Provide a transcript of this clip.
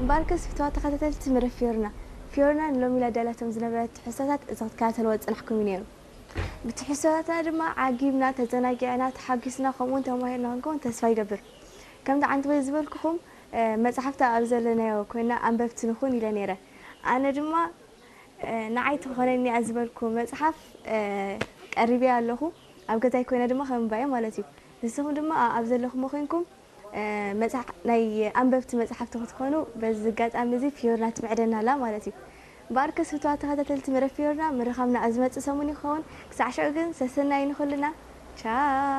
እምበኣርከስ ፍትዋት ተኸታተልቲ መደብ ፊዮርና፣ ፊዮርና ንሎሚ ላዳላቶም ዝነበረት ትሕዝቶታት እዚ ክትከታተልዎ ዝጸናሕኩም እዩ ነይሩ። ብትሕዝቶታትና ድማ ዓጊብና፣ ተዘናጊዕና፣ ተሓጒስና፣ ከምኡውን ተማሂርና ክንከውን ተስፋ ይገብር። ከምቲ ዓንትቦይ ዝበልኩኹም፣ እ፣ መጽሓፍቲ ኣብ ዘለናዮ ኮይና ኣንበብቲ ንኹን ኢለ ነይረ። ኣነ ድማ፣ እ፣ ንዓይ ትኾነኒ እያ ዝበልኩ መጽሓፍ፣ እ፣ ቀሪበያ ኣለኹ። ኣብ ገዛይ ኮይነ ድማ ከንብባ እየ ማለት እዩ። ንስኹም ድማ ኣብ ዘለኹሞ ኮይንኩም፣ እ፣ መጽሓ-፣ ናይ ኣንበብቲ መጽሓፍቲ ክትኮኑ በዚ ኣጋጣሚ እዚ ፊዮርና ትምዕደና ኣላ ማለት እዩ። እምበኣርከስ ፍትዋት ተኸታተልቲ መደብ ፊዮርና፣ ምርኻብና ኣብ ዝመጽእ ሰሙን ይኸውን። ክሳዕ ሽዑ ግን ሰሰናዩ ንኹልና። ቻው።